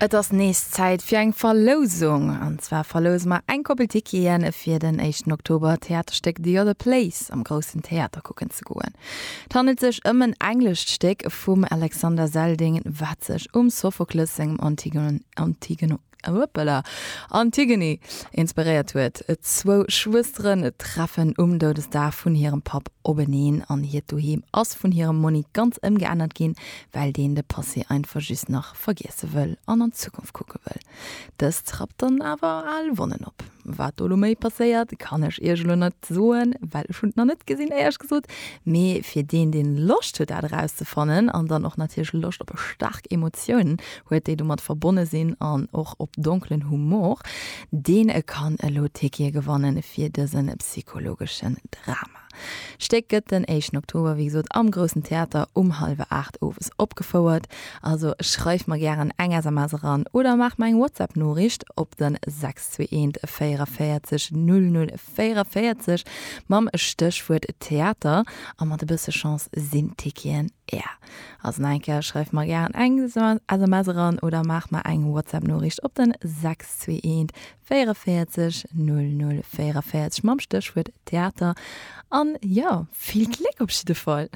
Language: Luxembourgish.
Et ass nees Zäit fir eng Verlousung. An zwar verlouse mer eng Koppel Ticketen fir den éischten Oktober d'Theaterstéck The Other Place am Groussen Theater kucken ze goen. Et handelt sech ëm en englescht Stéck vum Alexander Zeldin, wat sech um Sophokles sengem Antigone, Antigone, Hoppala, Antigone inspiréiert huet. Zwou Schwësteren treffen um Doudesdag vun hirem Papp openeen an hiert Doheem ass vun hirem Monni ganz ëmgeännert ginn, well deen de Passé einfach just nach vergiesse wëll an an d'Zukunft kucke wëll. Dëst rappt dann awer al Wonnen op. Wat do lo méi passéiert, kann ech iech elo net soen, well ech hunn et nach net gesinn, éierlech gesot. Mee fir deen, deen Loscht huet dat erauszefannen an dann och natierlech Loscht op staark Emotiounen huet, déi domat verbonne sinn an och op donkelen Humor, deen kann elo Tickete gewannen fir dëse psychologeschen Drama. D'Stéck gëtt den éischten Oktober, wéi gesot, am Groussen Theater um hallwer 8 owes opgefouert. Also schreif mer gären eng SMS eran oder maach mer eng WhatsApp-Noriicht op den 621 44 00 44 mam Stéchwuert Theater a mat e bësse Chance sinn d'Ticketen är. Also nach eng Kéier, schreif mer gären eng SMS eran oder maach mer eng WhatsApp-Noriicht op den 621 44 00 44 mam Stéchwuert Theater an jo, vill Gléck op jidde Fall!